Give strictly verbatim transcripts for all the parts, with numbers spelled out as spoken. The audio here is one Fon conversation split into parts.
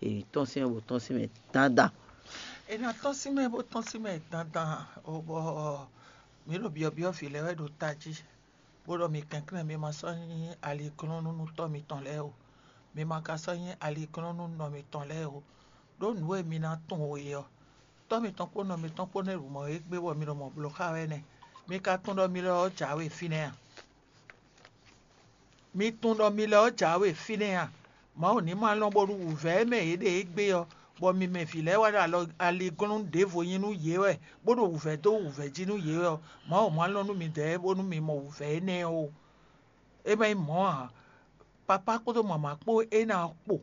È nǐ tɔ́n sín mɛ bó tɔ́n sín mɛ dandan. È nɔ tɔ́n sín mɛ bó tɔ́n sín mɛ dandan, bɔ mǐ ɖo byɔ̌byɔ́ vǐ lɛ́ɛ wɛ ɖo tají, bó ɖɔ mi kɛnklɛ́n mi ma sɔ́ nyí aliglɔ́nnú nú tɔ́ mitɔn lɛ́ɛ o, mi ma ka sɔ́ nyí aliglɔ́nnú nú nɔ mitɔn lɛ́ɛ o, ɖó nǔ e mi ná tunwun e ɔ́, tɔ́ mitɔn kpó nɔ mitɔn kpó nɛ́ ɖu mɔ̌ égbé bɔ mi ɖo mɔ̌ bló xá wɛ nɛ́. Mi ka tunwun ɖɔ mi lɔ ɔ́ jǎwe fínɛ́ a? Mi tunwun ɖɔ mi lɛ ɔ́ jǎwe fínɛ́ a? Mawu ní ma lɔn bónú wǔvɛ́ e mɛ yě ɖe égbé ɔ́, bɔ mi mɛ vǐ lɛ́ɛ wá ɖo alɔ aliglɔ́nú ɖěvo nyi nú yě wɛ, bó ɖo wǔvɛ́ dó wǔvɛ́ jí nú yě wɛ ɔ́, Mawu ma lɔn nú midɛɛ bónú mi mɔ wǔvɛ́ énɛ́ ɔ́ ó. É ma nyí mɔ̌ ǎ. Papá kpódó mama kpó é ná kpo,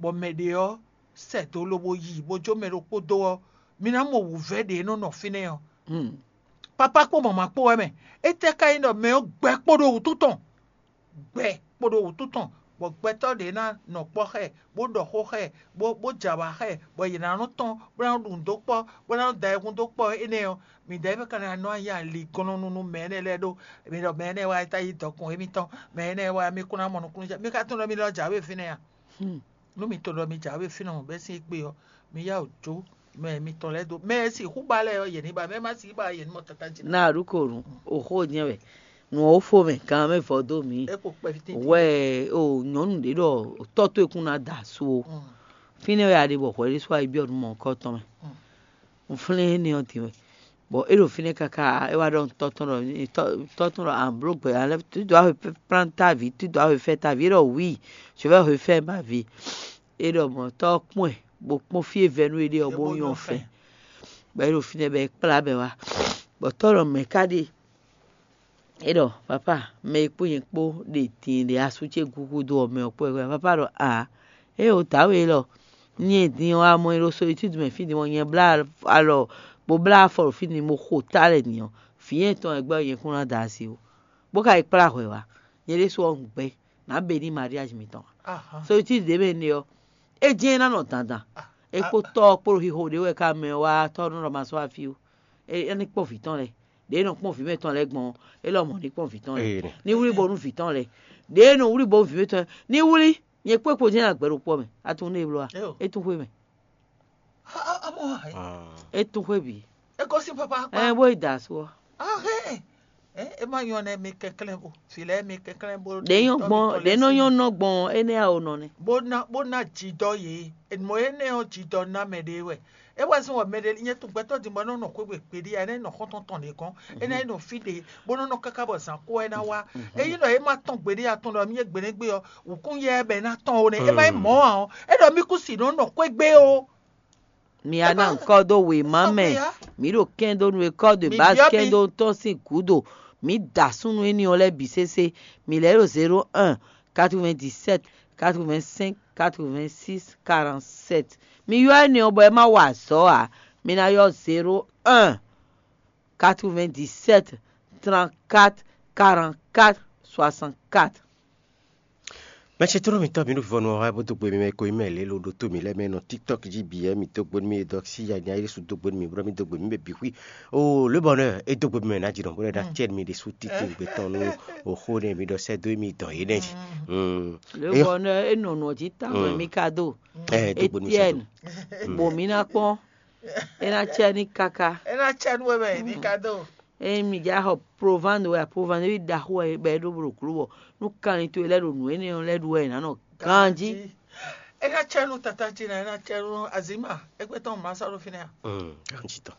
bɔ mɛ ɖě ɔ́ sɛ do lobo yi bó jó mɛ ɖokpó dó ɔ́, mi ná mɔ wǔvɛ́ ɖě e nɔ nɔ fínɛ́ ɔ́. Papá kpó mama kpó wɛ mɛ. Étɛ́ ka nyí ɖɔ mɛ ɔ́ gbɛ kpo ɖo wǔtu tɔn? Gbɛ kpo ɖo wǔtu tɔn, bɔ gbɛtɔ́ ɖě ná nɔ kpɔ́ xá ɛ, bó ɖɔ xó xá ɛ, bó bó jɛ awǎ xá ɛ, bɔ yě ná nɔ tɔ́n, bó ná ɖu nǔ dó kpɔ́, bó ná da ayihún dó kpɔ́ énɛ́ ɔ́, midɛɛ mɛ ka ná nɔ nyi aliglɔ́nnú nú mɛ énɛ́ lɛ́ɛ ɖó. Mi ɖɔ mɛ énɛ́ wá é tá yí dɔkun émítɔn, mɛ énɛ́ wá mí kún ná mɔ nukúnnú. Mi ka tunwun ɖɔ mi lɔ jǎwe fínɛ́ a? Nú mi tunwun ɖɔ mi jǎwe fínɛ́ bɛ́ sín égbé ɔ́, mi yá wǔ jó mɛ mitɔn lɛ́ɛ dó. Mɛ e sixú ba lɛ́ɛ ɔ́, yě ní ba, mɛ e ma sixú ba ɔ́, yě ní mɔ káká jí ná. Ná a ɖu ko nu, o xó nyɛ wɛ. Nǔ ɔ́ fó mɛ, gan mɛ vɔ dó mǐ. É kpo kpɛví tíntín. Wɛ o nyɔ̌nu ɖě ɖɔ tɔ́ towe kún ná da su o. Fínɛ́ wɛ a ɖe bɔ hwɛ ɖésú a yi byɔ́ nǔ mɔ̌hunkɔtɔn mɛ. Un flɛ́n énɛ́ ɔ́ din wɛ. Bɔ é ɖo fínɛ́ káká, é wá ɖɔ tɔ́ tɔn ɖɔ tɔ́ tɔn ɖɔ an bló gbɛ, an lɛ́ tu dois reflète ta vie, tu dois reflète ta vie, é ɖɔ oui, je vais reflète ma vie. É ɖɔ mɔ̌ tɔ́ ɔ́ kpɔ́n ɛ, bó kpɔ́n fí e vɛ́ nú éɖée ɔ́, bó nyɔ́ fɛn. Bɔ é ɖo fínɛ́ bɔ é kplá bɔ é wá. Bɔ tɔ́ ɖɔ mɛ̌ ká ɖe? É ɖɔ papa, mɛ e kpó nyɛ kpó ɖe din ɖe asú ce gúgúdó ɔ́ mɛ ɔ́ kpó wɛ. Papa ɖɔ a, é o dǎwe élɔ́, nyɛ din ɔ́, amɔ e ɖo solitude mɛ fí din ɔ́, nyɛ blá alɔ bó blá afɔ ɖo fí din bó xo tá lɛ din ɔ́, vǐ nyɛ tɔn wɛ gbɛ́ nyɛ kún ná da asi ó. Bó ka yi kplá hwɛ wá, nyɛ ɖésú ɔ́ un gbɛ́ nǎ be ní mariage mitɔn. Solitude ɖě mɛ ne ɔ́, é jɛ́n é ná nɔ dandan. É kpó tɔ́ ɔ́ kpó ɖo xixo ɖě wɛ ká mɛ wá tɔ́ nɔ ɖɔ ma sɔ́ wá fí ó. É ní kpɔ́n vǐ tɔn lɛ́ɛ. Ɖěe nɔ kpɔ́n vǐ mɛtɔn lɛ́ɛ gbɔn ɔ́, é lɔmɔ̌ ní kpɔ́n vǐ tɔn lɛ́ɛ. Ní wlí bónú vǐ tɔn lɛ́ɛ. Ɖěe nɔ wlí bónú vǐ mɛtɔn lɛ́ɛ. Ní wlí, nyɛ kpó kpo jɛ́n agbɛ̌ ɖokpó mɛ. A tunwun nú é bló a? É tún xwé mɛ. É tún xwé bǐ. É gosín papa kpá. Ɛ bó yi da asú ɔ́. Ahɛn. É má nyɔ nɛ mi kɛnklɛ́n bo. Vǐ lɛ́ɛ mi kɛnklɛ́n bo. Ɖě nyɔ́ gbɔn, ɖě nɔ nyɔ́ nɔ gbɔn, énɛ́ a o nɔ nɛ. Bó ná bó ná jǐdɔ yě. Mɔ̌ énɛ́ ɔ́ jǐdɔ ná mɛ ɖé wɛ. É wá zɔ́n wɛ mɛ ɖé nyɛ tun gbɛtɔ́ din bɔ é nɔ nɔ xwé gbe gbeɖé ǎ, é ná yi nɔ xɔ́ntɔn tɔn ɖě gɔ́n, é ná yi nɔ fí ɖě, bó nɔ́ nɔ káká bɔ zǎn kó wɛ ná wá. Ényí ɖɔ é má tɔn gbeɖé atɔn ɖɔ mì é gbeɖégbé ɔ́, wǔkún yɛ bɛ ná tɔn ó nɛ́. É má nyí mɔ̌ ǎ ɔ́, é ɖɔ mì kú si nɔ nɔ xwé gbé ó. Mi a ná ŋkɔ dó wěma mɛ. Mi ɖo kɛn dó nú e kɔ de base kɛn dó tɔn sín gǔdo. Mi da súnnu éní ɔ́ lɛ́ɛ bǐ sésé. Mi lɛ́ ɖo zéro un, quatre-vingt-dix-sept, quatre-vingt-cinq, quatre-vingt-six, quarante-sept. Mi ylɔ́ énɛ́ ɔ́ bɔ é má wa azɔ̌ ǎ. Mi ná ylɔ́ zéro un, quatre-vingt-dix-sept, trente-quatre, quarante-quatre, soixante-quatre. Mɛ ce tlóló mǐtɔn, mi ɖo vivɔnu ɔ́ wá bó dó gbe mi mɛ ko nyí mɛ lě lo ɖótó mǐ lɛ́ɛ mɛ nɔ TikTok jí bǐ wɛ. Mi dó gbe nú mì e dɔ sí ya nya Yésu dó gbe nú mì, bó ná mi dó gbe nú mì bǐ xwí. Oo, lě bɔ nɛ́ é dó gbe mi mɛ ná jǐ nɔ bó lɛ́ ná cɛ mi ɖésú títí gbɛtɔ́ nú oxó nɛ mi ɖɔ sɛ́ dó mi dɔn yě nɛ jí. Lě bɔ nɛ́ é nɔ nɔ jí tawun wɛ mi ka dó. Ɛ dó gbe nú mi Etienne, bɔ mi ná kpɔ́n, é ná cɛ ní káká. É ná cɛ nú we mɛ mi ka dó. Ényí mi já xɔ provando wɛ a provando ví ɖaxó wɛ bɔ é ɖó blǒ gló bɔ nú kanlin towe lɛ́ɛ ɖo nǔ énɛ́ ɔ́ lɛ́ɛ ɖu wɛ è nǎ nɔ ganjí. É ná cɛ nú tata ce ná, é ná cɛ nú azǐma, égbé tɔn má sɔ́ ɖo fínɛ́ a? Ganjí tɔn.